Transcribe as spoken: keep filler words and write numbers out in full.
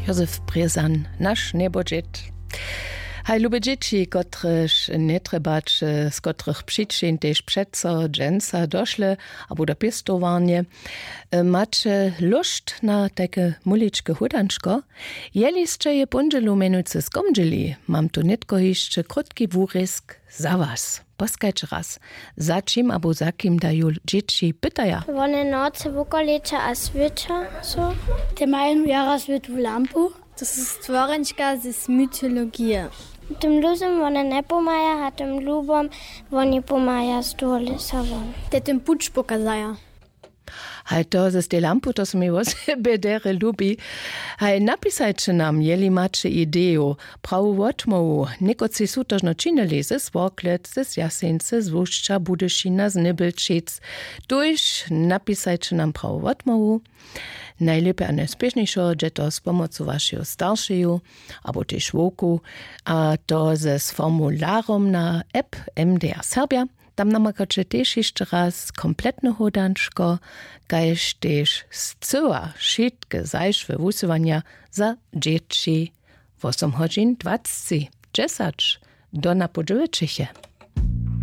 Józef Brězan, naš njebodźět. Haj, lube dźěći, kotrež njetrjebaće z kotrych přičin tež přeco dźensa došle abo do pěstowarnje, maće lóšt na tajke muličke hódančko? Jeli sće je póndźelu mjenujcy skomdźeli, mam tu nětko hišće krótki wurězk za was. Poskajće raz, za čim abo za kim da ju dźěći pytaja. Wone nocy wukoleča a swěča so. Te mają jara swětłu lampu. To su stworenčka z mytologije. Tym luzym wone njepomaja a tym lubom woni pomaja z dołu lěsa won. Te tym puć pokazaja. Haj, to z tej lampu, to su mi wosebje derje lubi. Haj, napisajće nam, jeli maće ideju, prawu wotmołwu. Někotři su to žno činili ze Sworklec, z Jaseńce, z Łušća, Budyšina, z Nybelčic. Tuž napisajće nam prawu wotmołwu. Najlěpje a najspěšnjejšo dźe to z pomocu wašeju staršeju abo tež wowku, a to ze formularom na app M D R Serbja. Tam namakaće tež hišće raz kompletne hódančko, kaž tež scyła wšitke zašłe wusyłanja za dźěći. Wosomhodźin dwacci dźesać do napudźewy čěche.